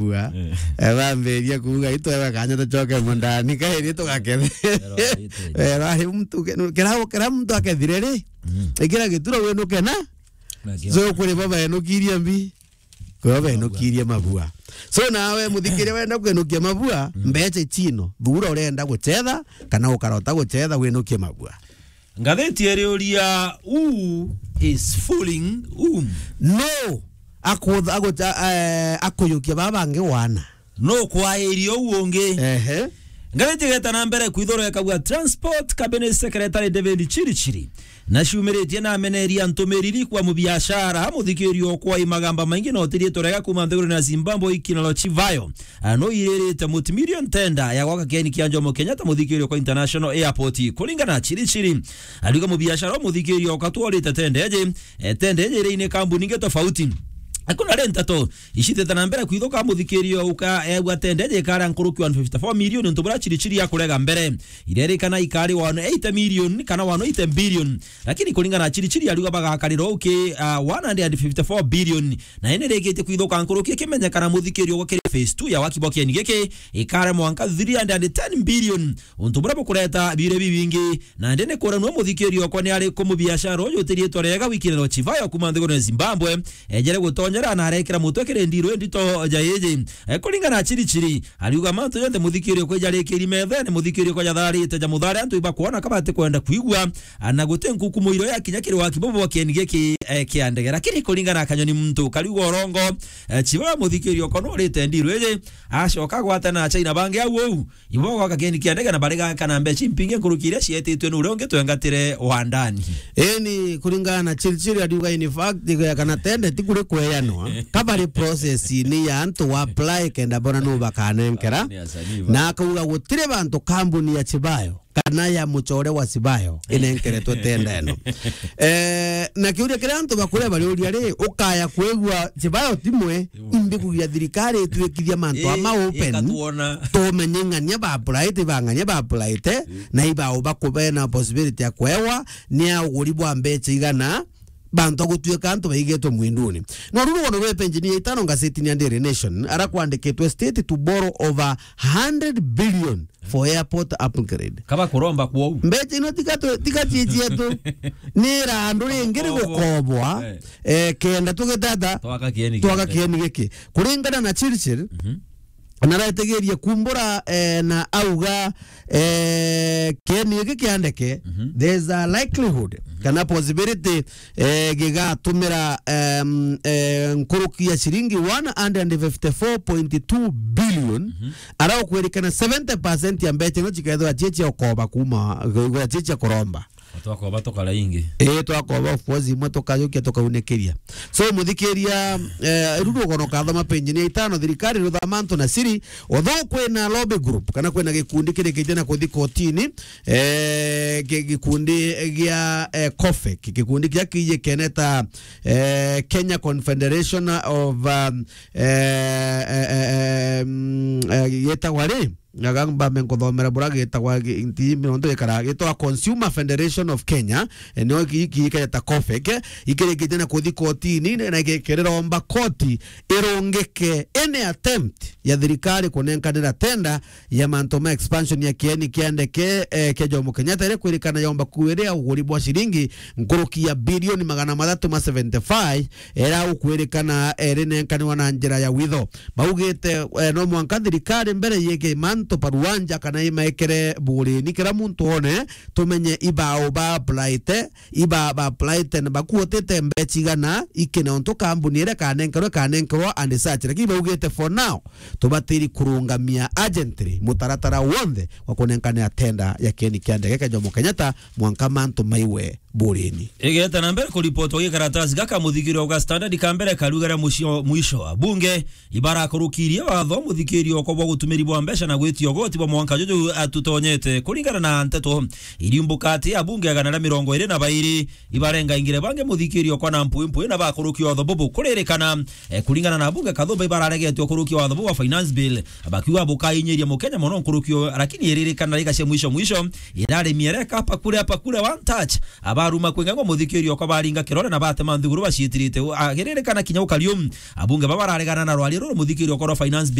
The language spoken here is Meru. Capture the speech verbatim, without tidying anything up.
Ua. Eh. Eh, bambiria kuuga, "Itwewe kanya tucoke mundani, kairi tugakethe." Ero, ite. Ero, ari muntu ke-, kira, kira muntu akethire ri, Mm. ikira gituro winuke na? Na kio. So, kuri bo benukirie mbi, kuri bo benukirie mabua. So, nawe muthikiria wenda kwenukia mabua, Mm. mbeca ichino, thura urenda guchetha, kana ukarota guchetha, winukie mabua. Ngathiti iriuria, "Who is fooling whom?" No akutha-, agucha-, eh, akuyukia baba bangi wana. No kwairia uu ungi. Ehe. Ngathiti igeta na mbere kwithura ikauga, Transport Cabinet Secretary David Chirichiri naciumiritie na ameneria ntumiriri kwa mubiashara, muthikirio kwa imagamba maingi na utirie turega kuma nthiguru na Zimbabwe ikinalo chivayo. Ah, no iririte multimillion tender ya gwaka kieni kia Jomo Kenyatta muthikirio kwa International Airport. Kuringana na Chirichiri, ariuga mubiashara umuthikirio ukatwarite tender eje, eh, tender eje iri ini kambuni ingi tofauti. Akuna ri nteto icitete na mbere kwithuka muthikirio uka egwa tender eje ikara nkuruki one fifty-four million untu buria Chirichiri akurega mbere. Irerikana ikari one eighty million kana one eighty billion. Lakini kuringana na Chirichiri, ariuga bagakarira uki, ah, one hundred and fifty-four billion. Na indi rikitie kwithuka nkuruki ikimenyekana muthikirio gwa kiri phase two ya waki bwa kieni giki ikare mwanka three hundred and ten billion. Untu buria bukureta biure bibingi. Na indi ni kuranua muthikirio kwa ni ari ku mubiashara uyu utiritwa rega wikiriro chivayo kuma nthiguru ya Zimbabwe. Ejere gutonyera na arekira mutwe kiri ndiru ndito ja iji. Eh, kuringana na Chirichiri, ariuga mantu jonthe muthikirio kwa ijarikiri methene, muthikirio kwa jatharite ja muthare antu ibakwona kabati kwenda kwigua, ana guti nkukumo iro ya kinya kiri waki bobo kieni giki, eh, kia ndege. Lakini kuringana na kanyoni muntu kariuga urongo, eh, chiba muthikirio kono urite ndiru iji, acoka gwata na China bangi au au, ibo gwaka kieni kia ndege na bariga kana mbechi mpinge nkuruki iria cietitwe ni uria ungi twengatire wandani. Eni, kuringana na Chirichiri, ariuga, in fact, kana tende ti kuri kweyanwa. Kabari process ni ya antu wa apply kenda bona nu bakanenkera. Ni asanii ba. Na akauga gutire bantu kambuni ya Chibayo kana ya muchore wa Chibayo inenkeretwe tenda eno. Eh, na kiuria kiria antu bakuria bariuria ri, ukaya kwigua Chibayo timwe, imbi kugia thirikari itwikithia mantu ama open, ikatuona. Tumenye ng'ania ba apply, ti ba ng'ania ba apply, na ibao bakubena possibility ya kwewa, ni a uguri bwa mbecha igana, bantu a gutuika antu baigetwe mwinduni. Na uru rugono rwa penjini ya itano ngazetini ya Daily Nation, ara kwandikitwe, "State to borrow over hundred billion for airport upgrade." Kaba kuromba kwou. Mbecha ino tiga tu-, tiga chichietu. Ni randu ringi rigukobwa, eh, kenda tugitata twaka kieni giki. Kuringana na Chirichiri, mhm. Naretigerie kumbura, eh, na auga, eh, kieni giki kia ndeke, mhm, there's a likelihood, mhm, kana possibility, eh, gigatumira, em, eh, nkuruki ya ciringi one hundred fifty-four point two billion, mhm, ara ukwirikana seventy percent ya mbecha ino cikethirwa cie cia ukoba kuma, cie cia kuromba. Twakoba tukara ingi. Ii, twakoba, of course, imwe tukajukia tukaunikiria. So, muthikiria, eh, riu rugono kathoma penjini ya itano, thirikari ruthama antu na siri, although kwina lobby group, kana kwina gikundi kirikite na kuthi kotini, eh, gi-, gikundi gia, eh, COFEK, gikundi kia kiiji keneta, eh, Kenya Confederation of, um, eh, eh, eh, em, eh, gitagwa ri? Ngaga mbambe nkuthomera buria gitagwa gi-, nti mironto ikara gitwa Consumer Federation of Kenya, eh, nio ki-, ki-, iketa COFEK, ikirikite na kuthi kotini, na gi-, kiriromba koti irungike any attempt ya thirikari kunenkanira tenda ya mantu ma expansion ya kieni kia ndeke, eh, kia Jomo Kenyatta, iria kwirikana yomba kuiria uguri bwa ciringi nkuruki ya bilioni magana mathatu ma seventy-five, iria ukwirikana, eh, irinenkaniwa na njira ya witho. Baugite, eh, no mwanka thirikari mbere yike mantu paruanja kana imaikire burini, kira muntu one, tumenye ibao ba applyte, iba ba applyte na bakuotete mbecha igana, ikine untu kambuni iria kanenkerwe, kanenkerwa and such. Lakini baugite for now, tubatiri kurungamia urgently mutaratara wonthe wa kunenkanira tenda ya kieni kia ndege kia Jomo Kenyatta mwanka mantu maiwe burini. Igeta na mbere kuripotwa gikaratasi gaka muthikirio ga Standard ka mbere karugara mucio mwisho wa bunge ibarakurukirie watho muthikirio kwa bwa gutumiri bwa mbeca na gwitia ugoti bwa mwanka juju atutonyete. Kuringana na nteto iriumbuka ati abunge agana ria mirongo iri na bairi ibarenga ingire bangi muthikirio kwa na mpwi mpwi na bakurukia watho bubu kuririkana. Eh, kuringana na abunge kathumba ibararegetwe kurukia watho bubu wa finance bill, bakiuga bukainyiria mukenya mono nkuruki uyu, lakini iririkana riga cia mwisho mwisho irari miereka pakure pakure one touch. Aba baruma kwinga ngo muthikiri okwa baringa kirore na batema nthiguru bacitirite. Agiririkana kinya ukariu, abunge baba bararegana na rwaria ruru muthikiri okwa rwa finance